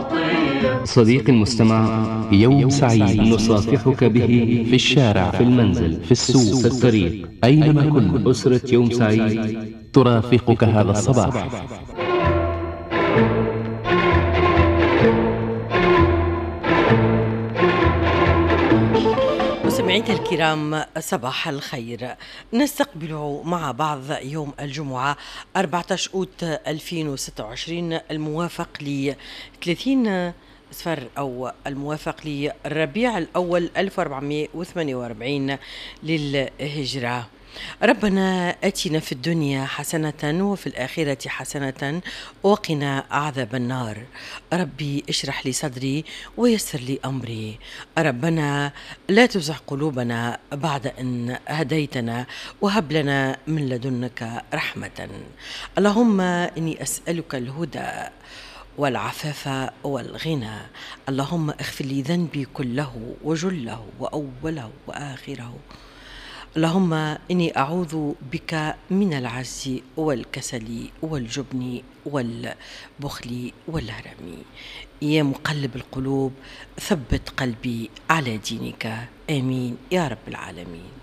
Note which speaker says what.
Speaker 1: عطية.
Speaker 2: صديقي المستمع،
Speaker 3: يوم سعيد
Speaker 2: نصافحك به
Speaker 3: في الشارع،
Speaker 2: في المنزل،
Speaker 3: في السوق،
Speaker 2: في الطريق،
Speaker 3: أينما كنت.
Speaker 2: أسرة يوم سعيد
Speaker 3: ترافقك هذا الصباح.
Speaker 4: مستمعينا الكرام، صباح الخير. نستقبل مع بعض يوم الجمعة 14 أوت 2026 الموافق ل 30 صفر أو الموافق للربيع الأول 1448 للهجرة. ربنا أتنا في الدنيا حسنة وفي الآخرة حسنة وقنا عذاب النار. ربي اشرح لي صدري ويسر لي أمري. ربنا لا تزغ قلوبنا بعد أن هديتنا وهب لنا من لدنك رحمة. اللهم إني أسألك الهدى والعفاف والغنى. اللهم اغفر لي ذنبي كله وجله وأوله وآخره. اللهم إني أعوذ بك من العجز والكسل والجبن والبخل والهرم. يا مقلب القلوب ثبت قلبي على دينك، آمين يا رب العالمين.